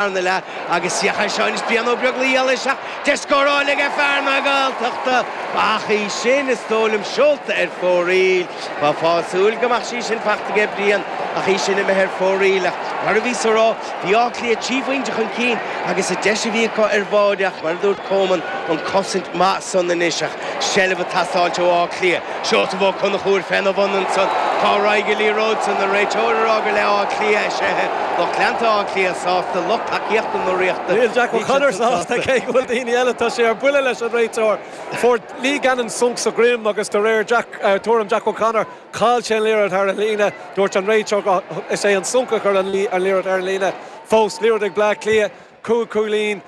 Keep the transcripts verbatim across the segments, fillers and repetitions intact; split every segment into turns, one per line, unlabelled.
Darna leath agus féach air seo anois Brian Ó Beaglaoich eile isteach deis scóráil ag fear na Gaeltachta ach í sin is dóigh liom seolta ar fóraoil. Bheifeá ag súil go mbeadh sí sin fachta aige Brian ach í sin imithe ar fóraoil ach mar a bhíos a rá bhí Áth Cliath trí phointe chun cinn agus an deis a bhí acu ar bháide ach mar a dúirt Coman an cosaint maith san anois ach seilbh ag teastáilt ó Áth Cliath. Seosamh Ó Conchúir féna bhun ansan cá raghaidh an liathróid san an réiteoir a rá gur le Áth Cliath é lucht leanta Áth Cliath sásta lucht tacaíochta na Ríochta.
Níl Jack O'Connor sásta cé go bhfuil daoine eile tá sé ar buile leis an réiteoir. Fuair Lee Gannon sonc sa droim agus de réir Jack uh, tuairim Jack O'Connor chaill sé an liathróid thar an líne, dúirt an réiteoir is é an sonc a chuir an liathróid ar an líne. Fós liathróid ag Bleá Cliath, cúig cúilín.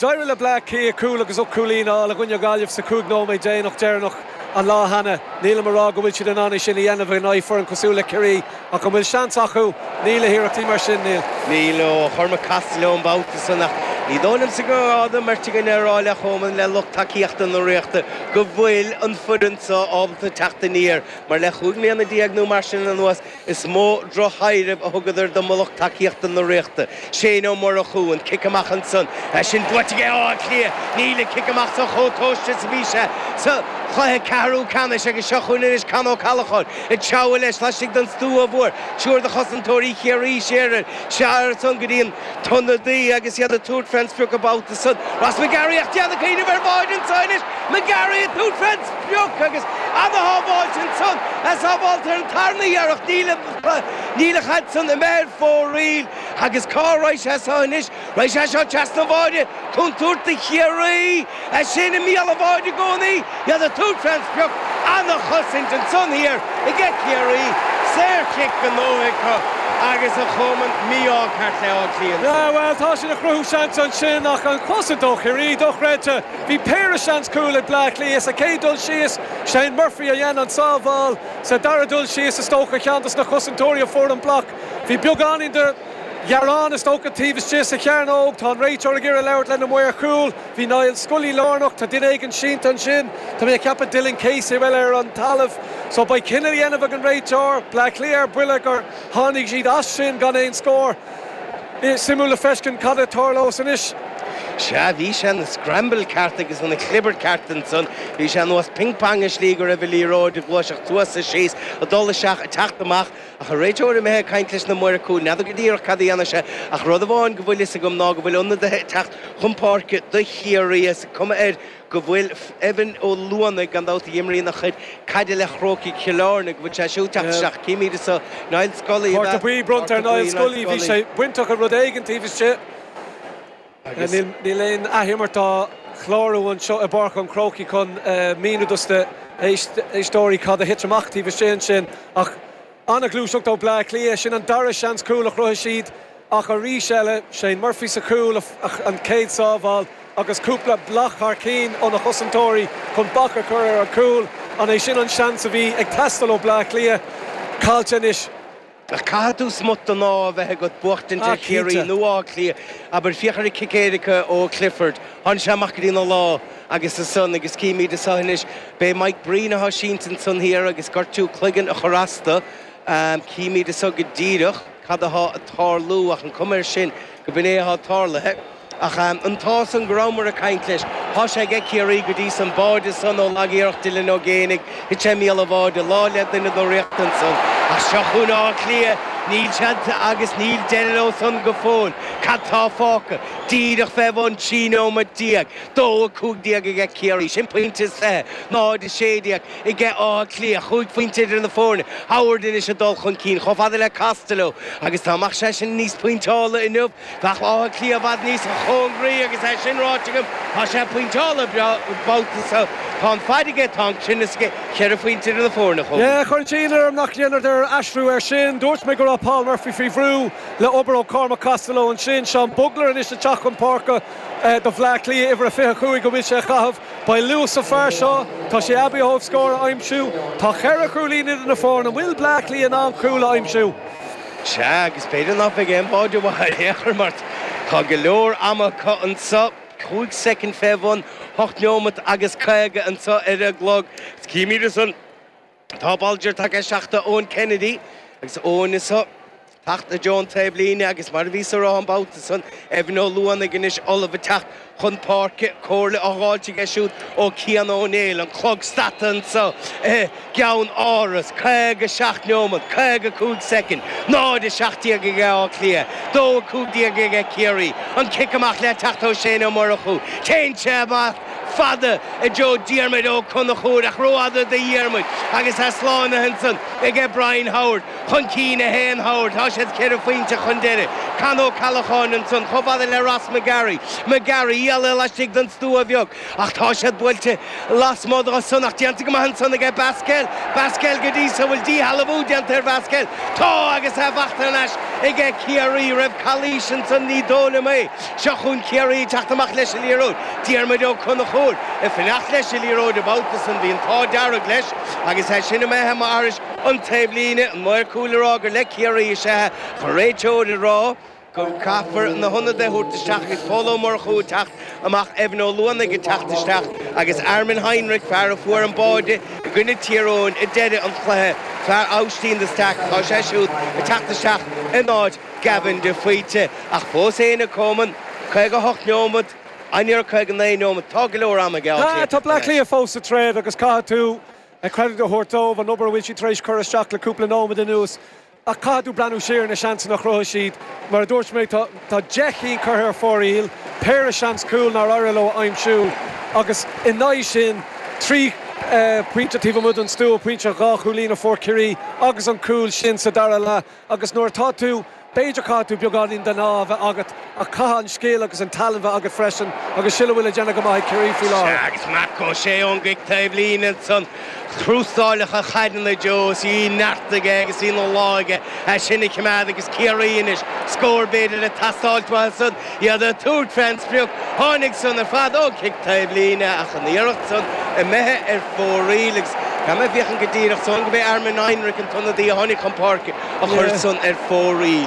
D'éirigh le Bleá Cliath cúl agus ocht cúilín a gcoinne Gaillimh sa cúig nóiméad déanach deireanach an lá cheana. Nílim ag rá go bhfuil siad in ann sin a dhéanamh in aghaidh foireann cosúil le Ciarraí ach an bhfuil seans acu níl le hiarrachtaí mar sin níl.
Níl ó Chormac Costello an babhta san ach ní dóigh liomsa go raibh meirt againn ar rá le Coman le lucht tacaíochta na Ríochta go bhfuil an foireann seo ábalta teacht aniar mar le chúig mbliana déag nó mar sin anuas is mó drochthaidhreamh a thugadar do lucht tacaíochta na Ríochta. Shane Ó Murchú an cic amach ansan sin buaite ag Áth Cliath níl an cic amach sa chomh tomhaiste is a bhí sé sa chluiche ceathrú ceannais agus seo chugainn anois Con Ó Callacháin ag treabhadh leis laistigh den stua mhór triúr de chosantóirí Chiarraí siar siar san go dtí an t-ionadaí agus iad ag tabhairt fén sprioc an babhta san. Ross McGarry ach déanamh cuimhneamh ar bháide ansan anois McGarry ag tabhairt fén sprioc agus an-shábháilt ansan a sábháilt ar an tarna iarracht níl níl an chaid san imithe ar fóraoil agus cá raibh sé seo anois Raibh sé seo trasna an bháide contúirt do Chiarraí é sin i mbéal an bháide i gcónaí iad ag tabhairt fén sprioc an-chosaint ansan thiar ag Ciarraí saorchic gnóthaithe acu agus a Choman mí-ádh ceart le Áth Cliath.
Yeah, well tá sin ag cruthú seans ansin ach an chosaint ó Chiarraí dochreidte. Bhí péire seans cúl ag Bleá Cliath sa chéad dul síos Shane Murphy a dhein an sábháil sa dara dul síos is dócha ceann de na cosantóirí a fuair an bloc. Bhí beagáinín de ghearán is dócha taobh istigh sa chearnóg tá an réiteoir ag iarraidh labhairt lena maor cúil, Bhí Niall Scully lárnach tá duine éigin sínte ansin, Tá mé ag ceapadh Dylan Casey bhfuil ar an talamh, so beidh cinneadh á dhéanamh ag an réiteoir, Bleá Cliath ar buile gur tháinig siad as sin gan aon scór. Suimiúil le feiscint cad a tharlós anois.
Sea bhí sé an scramble ceart agus an clibirt ceart ansan, bhí sé nós ping-pong i slí go raibh an liathróid ag gluaiseacht suas is síos ag dul isteach ag teacht amach ach an réiteoir imithe ag caint leis na maoir cúil n'fheadar go díreach cad a dhéanfaidh sé ach rud amháin go bhfuil fhios agam ná go bhfuil ionadaithe ag teacht chun páirce do Chiarraí is cuma air go bhfuil Evan Ó Luanaigh gan dabht a imríonn a chuid caide le Chrócaigh Chill Airne go bhfuil sé siúd teacht isteach címid so Niall Scully
Cárta buí bronnta ar Niall Scully bhí sé bainteach i rud éigin taobh istigh. Níl aon athimirt á chlárú anseo i bPáirc an Chrócaigh chun míniú dos na héisteoirí cad a thit amach taobh istigh ansin ach an-ghluaiseacht ó Bleá Cliath sin an dara seans cúl a chruthaigh siad ach arís eile Shane Murphy sa chúl an chéad sábháil agus cúpla bloc thar cinn ó na cosantóirí chun bac a chur ar an cúl an é sin an seans a bhí ag teastáil ó Bleá Cliath caillte anois.
Ach caithfidh tú smut den ádh a bheith agat buachtaint ar Chiarraí nó Áth Cliath abair féach ar an cic éirice ó Clifford Tháinig sé amach go dtí na lá agus ansan agus címid anseo anois b'é Mike Breen atá sínte ansan thiar agus gortú cloigeann a chur as dó címid anseo go díreach cad atá ag tarlú ach an cuma air sin go b'in é atá tarlaithe. Ach an t-ádh san go rabhamar ag caint leis, tá sé ag Ciarraí go dtí san báide san ó lag-iarracht Dylan Ó Géibheannaigh, thit sé i mbéal an bháide, lá le duine den Ríocht ansan. Ach seo chugainn Áth Cliath, níl siad agus níl deireadh leo san go fóill. Cad tá fágtha? Díreach fé bhun trí nóiméad déag, dó a cúig déag aige Ciarraí, sin pointe is fiche, náid a sé déag aige Áth Cliath, chúig phointe idir na foirne, Howard anois ag dul chun cinn chomh fada le Costello agus dá mbeadh seisean níos pointeála inniu, Bheadh Áth Cliath i bhfad níos cóngaraí agus é sin ráite agam, tá sé pointeála babhta seo. Tá an fad aige, tá an cruinneas aige, ceithre phointe idir na foirne chomh.
Yeah, chuir sé ionadh orm nach ndéanadar aistriú air sin. Dúirt mé go raibh Paul Murphy faoi bhrú le obair ó Cormac Costello ansin. Seán Bugler anois ag teacht chun páirce do Bhleá Cliath uimhir a fiche cúig go bhfuil sé a chaitheamh. Beidh luas sa fear seo, tá sé aibí ó thaobh scór a aimsiú. Tá ceithre chúilín idir na foirne. An bhfuil Bleá Cliath in ann cúl a aimsiú?
Sea, agus b'fhéidir nach mbeidh aon bháide mhaith ar aon chor mar tá go leor ama acu anseo, cúig soicind fé bhun hocht neomat agus caoga anseo ar an gclog. Címid ansan, tá Bolger tagtha isteach do Eoin Kennedy agus Eoin anseo. Teacht i dtreo an taobhlíne agus mar a bhí sa rá an babhta san Evan Ó Luanaigh anois ullamh ag teacht chun páirce comhairle á fháilt aige siúd ó Cian Ó Néill an clog stadta anseo i gceann Áras caoga seacht neomat caoga cúig soicind náid a seacht déag ag Áth Cliath dó a cúig déag ag Ciarraí an cic amach le teacht ó Shane Ó Murchú téann sé amach fada i dtreo Diarmuid Ó Conchúir ach rófhada do Dhiarmuid agus é slánaithe ansan ag Brian Howard chun cinn a haon Howard tá siad ceithre phointe chun deiridh Con Ó Ceallacháin ansan chomh fada le Ross McGarry McGarry eile laistigh den stua bheag ach tá siad buailte lasmuigh de san ach déanta go maith ansan aige Basquel Basquel go dtí sa bhfuil díshealbhú déanta ar Basquel tá agus é faighte anois aige Ciarraí raibh calaois ansan ní dóigh liom é seo chugainn Ciarraí teacht amach leis an liathróid Diarmuid Ó Conchúir ag fanacht leis an liathróid an babhta san bhí an t-ádh dearg leis agus é sin imithe amach thairis an taobhlíne an maor cúil ag rá gur le Ciarraí is ea an réiteoir ag rá go gcaithfear na hionadaithe a thabhairt isteach agus Pól Ó Murchú ag teacht amach Evan Ó Luanaigh ag teacht isteach agus Armin Heinrich fear a fuair an báide i gcoinne Tír Eoghain i deireadh an chluiche fear Aibhistín de Staic tá sé siúd ag teacht isteach in áit Gavin de Faoite ach fós féin a Choman caoga hocht neomat aniar caoga naoi neomat tá go leor ama aige
Ah, tá Bleá Cliath fós sa troid agus caithfidh tú a credit a thabhairt dóibh an obair a bhfuil siad tar éis cur isteach le cúpla nóiméad anuas. A caithfidh tú breathnú siar na seansanna a chruthaigh siad, mar a dúirt mé tá deich gcinn curtha ar fóraoil, péire seans cúl nár éirigh leo a aimsiú agus in aghaidh sin trí pointe taobh amuigh den stua pointe dhá chúilín a fuair Ciarraí agus an cúl sin sa dara leath agus nuair atá tú b'fhéidir caithfidh tú beagáinín den ádh a bheith agat ach caithfidh an scil agus an tallann bheith agat freisin agus sin a bhfuil le déanamh go maith Ciarraí faoi láthair.
Agus Marc Ó Sé ón gcic taobhlíne ansan chrústáileach a chaideanna Joe í neart aige agus í na láige é sin a choimeád agus Ciarraí anois scór b'fhéidir le teastáil san iad ag tabhairt fén sprioc tháinig san ar fad ó chic taobhlíne ach an iarracht san imithe ar fóraoil agus Tá mé féachaint go díreach san go bé Armin Heinrich an t-ionadaí a tháinig chun páirce a chuir san ar fóraoil.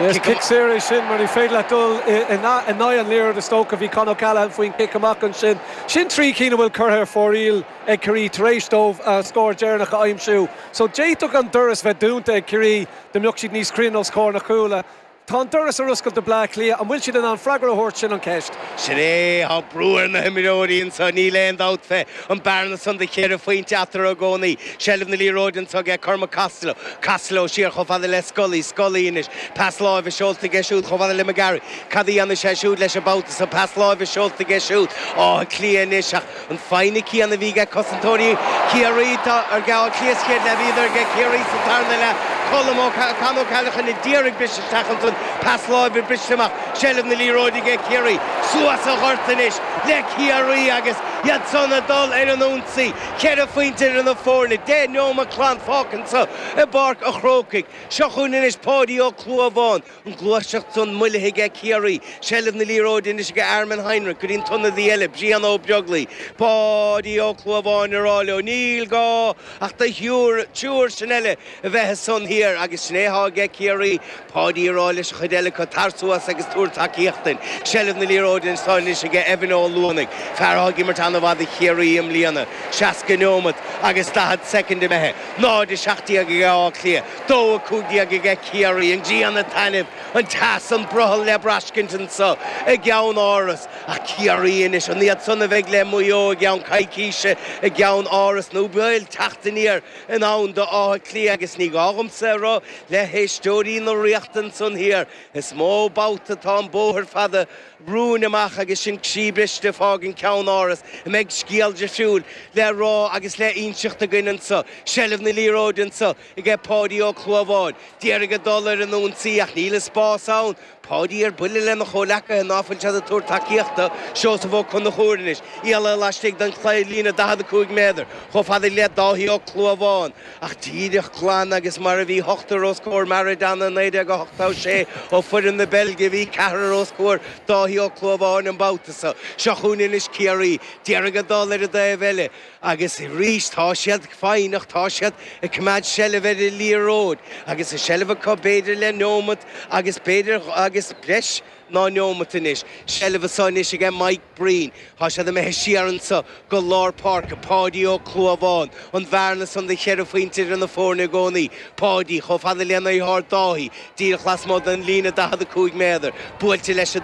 Is cic saor é sin mar ní féidir leat dul in aghaidh an liathróid is dócha bhí Con O'Callaghan faoin cic amach ansin. Sin trí cinn a bhfuil curtha ar fóraoil ag Ciarraí tar éis dóibh scór deireanach a aimsiú. So d'fhéadfadh an doras bheith dúnta ag Ciarraí dá mbeadh siad níos cruinne os comhair na cúla. Tá an doras ar oscailt do Bleá Cliath an bhfuil siad in ann freagra a thabhairt sin an ceist.
Sin é tá brú ar na himreoirí anseo níl aon dabht fé an bearna san de cheithre phointe eatarthu i gcónaí. Seilbh na liathróide anseo ag Cormac Costello. Costello siar chomh fada le Scully, Scully anois. Pas láimhe seolta aige siúd chomh fada le McGarry. Cad a dhéanfaidh sé siúd leis an babhta sa pas láimhe seolta aige siúd. Áth Cliath anois ach an foighne céanna a bhí ag cosantóirí Ciarraí tá ar Átha Cliath sa chéad leath bhíodar ag Ciarraí sa tarna leath. Colm Ó Con O'Callaghan ag iarraidh briseadh isteach ansan pas láimhe briste amach seilbh na liathróide ag Ciarraí suas an gort anois le Ciarraí agus iad san ag dul ar an ionsaí ceithre phointe idir na foirne deich neomat glan fágtha anseo i bPáirc an Chrócaigh seo chugainn anois Páidí Ó Clúmháin an ghluaiseacht san moillithe ag Ciarraí seilbh na liathróide anois ag Armin Heinrich go dtí an t-ionadaí eile Brian Ó Beaglaoi Páidí Ó Clúmháin ag rá leo níl gá ach do thriúr triúr sin eile a bheith san thiar agus sin é atá ag Ciarraí Páidí ag rá leis an chuid eile acu tar suas agus tabhair tacaíocht dúinn. Seilbh na liathróide anseo anois ag Evan Ó Luanaigh, fear atá ag imirt an-mhaith do Chiarraí i mbliana, seasca neomat agus daichead soicind imithe, náid a seacht déag ag Áth Cliath, dó a cúig déag ag Ciarraí, an ghrian ag taitneamh, an teas an brothall le braiscint anseo i gceann Áras. Ach Ciarraí anois, an iad san a bheidh le Maigh Eo i gceann coicíse i gceann Áras nó bhfuil teacht aniar in ann do Áth Cliath agus ní gá dhomsa a rá le héisteoirí na Ríochta ansan thiar. Is mó babhta atá an bóthar fada romhainn amach agus sin croí briste ag fágaint ceann Áras a mbeidh scéal difriúil le rá agus le inseacht againn anseo. Seilbh na liathróide anseo ag Páidí Ó Clúmháin. D'iarraidh a dul ar an ionsaí ach níl an spás ann. Páidí ar buile lena chomhleacaithe ná fuil siad ag tabhairt tacaíochta. Seosamh Ó Conchúir anois. Ialla laistigh den líne daichead a cúig méadar, chomh fada le Dáithí Ó Clúmháin. Ach díreach glan agus mar a bhí ochtar os comhair Maradona naoi déag a hochtó sé ó foireann na Beilge bhí ceathrar os comhair Dáithí Ó Clúmháin an babhta seo. Seo chugainn anois Ciarraí. D'iarraidh a dul ar an dtaobh eile agus arís tá siad foighneach, tá siad ag coimeád seilbh ar an liathróid agus a seilbh acu b'fhéidir le neomat agus b'fhéidir agus breis ná neomat anois. Seilbh anois ag Mike Breen. Tá sé imithe siar anseo go lár páirce Páidí Ó Clúmháin, an bhearna san de cheithre phointe idir na foirne i gcónaí. Páidí chomh fada lena dheartháir Dáithí, díreach lasmuigh den líne daichead a cúig méadar, buailte leis a